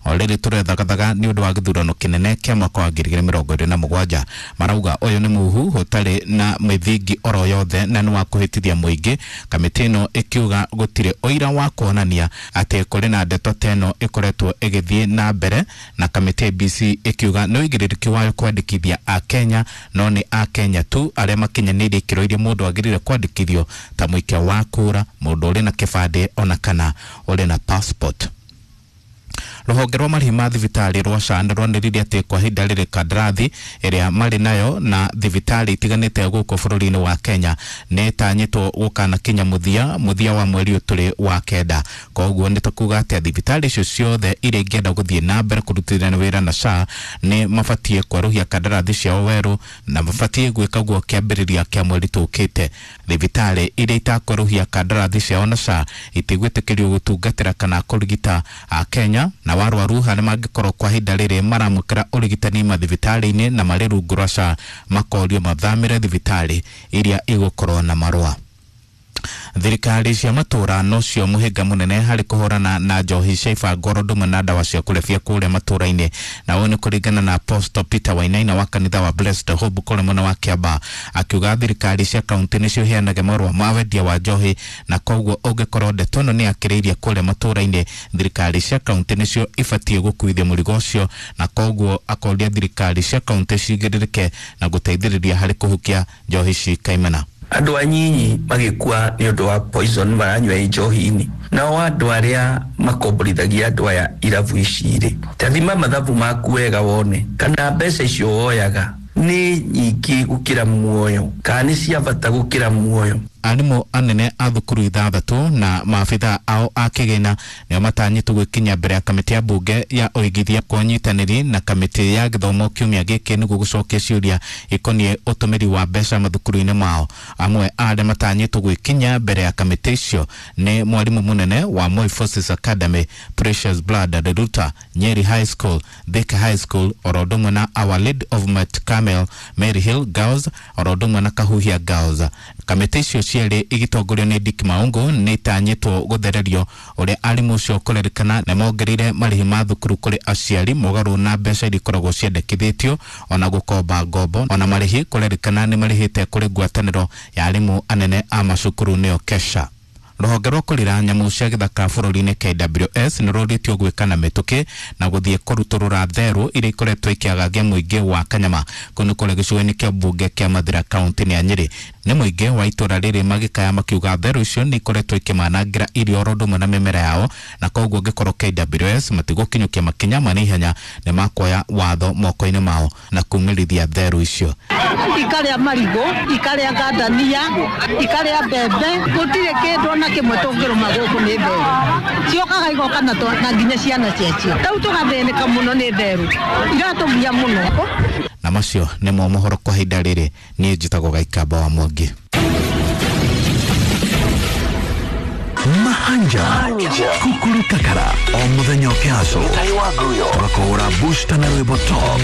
O rĩrĩ tũrethagathaga nĩ ũndũ wa gĩthurano kĩnene kĩa mwaka wa 2027. Marauga ũyũ nĩ muhu ũtarĩ na mĩthingi oro yothe na nĩ wa kũhĩtithia mũingĩ. Kamĩtĩ ĩno ĩkiuga gũtirĩ ũira wa kuonania atĩ kũrĩ na ndeto ta ĩno ĩkoretwo ĩgĩthiĩ na mbere, na kamĩtĩ IEBC ĩkiuga nĩ ũigĩrĩrĩki wayo kwandĩkithia Akenya, no nĩ Akenya tu arĩa makinyanĩirie ikĩro iria mũndũ agĩrĩire kwandĩkithio ta mũikia wa kura, mũndũ ũrĩ na kĩbandĩ ona kana ũrĩ na passport. Rũhonge rwa marĩhi ma thibitarĩ rwa SHA nĩ rwanĩrĩire atĩ kwa ihinda rĩrĩ kandarathi ĩrĩa marĩ nayo na thibitarĩ itiganĩte gũkũ bũrũri-inĩ wa Kenya nĩ ĩtanyĩtwo gũkanakinya mũthia wa mweri ũyũ tũrĩ wa kenda. Koguo nĩ tũkuga atĩ thibitarĩ icio ciothe iria ingĩenda gũthiĩ na mbere kũrutithania wĩra na SHA nĩ mabatiĩ kwerũhia kandarathi ciao werũ na mabatiĩ gwĩka guo kĩambĩrĩria kĩa mweri tũkĩte. Thibitarĩ iria itakwerũhia kandarathi ciao na SHA itigwĩtĩkĩrio gũtungatĩra kana kũrigita Akenya, na warwaru harĩa mangĩkorwo kwa ihinda rĩrĩ maramũkĩra ũrigitani mathibitarĩ-inĩ na marĩ rungu rwa SHA makorio mathamĩre thibitarĩ iria igũkorwo na marũa. Thirikari cia matũra nocio mũhĩnga mũnene harĩ kũhũrana na njohi cia ibango oro ũndũ na ndawa cia kũrebia kũrĩa matũra-inĩ, na ũyũ nĩ kũringana na Apostle Peter Wainaina wa kanitha wa Blessed Hope kũrĩa mwena wa Kiambaa, akiuga thirikari cia kaunti nĩcio iheanaga marũa ma wendia wa njohi, na koguo ũngĩkorwo ndeto ĩno nĩ yakĩrĩirie kũrĩa matũra-inĩ, thirikari cia kaunti nĩcio ibatiĩ gũkuithia mũrigo ũcio, na koguo akoria thirikari cia kaunti cigĩrĩrĩke na gũteithĩrĩria harĩ kũhukia njohi ci kaimana. Andũ anyinyi magĩkua nĩ ũndũ wa poison maranyua njohi-inĩ, nao andũ arĩa makomborithagia andũ aya irabu ici rĩ, tathima mathabu maku wega wone kana mbeca icio woyaga nĩ nyingĩ gũkĩra muoyo kana nĩ cia bata gũkĩra muoyo. Arimũ anene a thukuru ithathatũ na maabitha ao a kĩgĩna nĩo matanyĩtwo gwĩkinyia mbere ya kamĩtĩ ya mbunge ya ũigithia kwa ũnyitanĩri na kamĩtĩ ya gĩthomo kiumia gĩkĩ nĩguo gũcokia ciũria ikoniĩ ũtũmĩri wa mbeca mathukuru-inĩ mao. Amwe a arĩa matanyĩtwo gwĩkinyia mbere ya kamĩtĩ icio nĩ mwarimũ mũnene wa Moi Forces Academy Precious Blood Reruta, Nyeri High School, Thika High School, oro ũndũ ũmwe na Our Lady of Mount Carmel, Mary Hill Girls, oro ũndũ ũmwe na Kahuhia Girls. Kamĩtĩ icio cierĩ igĩtongorio nĩ Dick Maungu nĩ itanyĩtwo gũthererio ũrĩa arimũ ũcio kũrerĩkana nĩ mongereire marĩhi ma thukuru kũrĩ aciari mũgarũ na mbeca iria ikoragwo ciendekithĩtio, ona gũkomba ngombo, ona marĩhi kũrerĩkana nĩ marĩhĩte kũrĩ ngwatanĩro ya arimũ anene a macukuru nĩyo KESHA. Rũhonge rwa kũrĩra nyamũ cia gĩthaka bũrũri-inĩ KWS nĩ rũrĩtio gwĩka na mĩtũkĩ na gũthiĩ kũrutũrũra therũ iria ikoretwo ikĩagagia mũingĩ wa Kanyama kũu nĩ kũrĩa gĩcigo-inĩ kĩa mbunge kĩa Mathira kaunti-inĩ ya Nyĩrĩ. Nĩ mũingĩ wa itũra rĩrĩ magĩkaya makiuga therũ icio nĩ ikoretwo ikĩmanangĩra irio oro ũndũ ũmwe na mĩmera yao, na koguo angĩkorwo KWS matigũkinyũkia makinya ma naihenya nĩ makuoya watho moko-inĩ mao na kumĩrithia therũ icio. Ikarĩa marigũ, ikarĩa ngandania, ikarĩa mbembe, gũtirĩ kĩndũ ona kĩmwe tũngĩrũma gũkũ nĩ therũ. Ciokaga igoka na nginya ciana ciacio. Rĩu tũgathĩnĩka mũno nĩ therũ, iratũgia mũno. Na macio nĩmo mohoro kwa ihinda rĩrĩ. Niĩ njĩtagwo Gaikamba wa Mwangi. Mahanja Kukuru Kakara o mũthenya ũkĩhaco tũgakũhũra booster na rwĩmbo top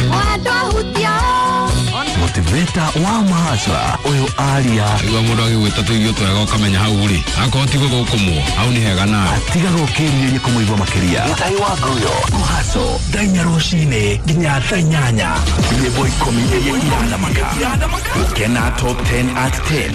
motivator wa mahasra ũyũ aria igua mũndũ agĩgwĩta tũirio twega ũkamenya hau rĩ akorwo ti gũthũkũmwo hau nĩ hega nawe atigaga ũkĩrirĩria kũmũigua makĩria kũhaco thaa inya rũcinĩ nginya thaa inyanya nyĩmbo ikũmi iria irathamaka gũkena top 10 at 10.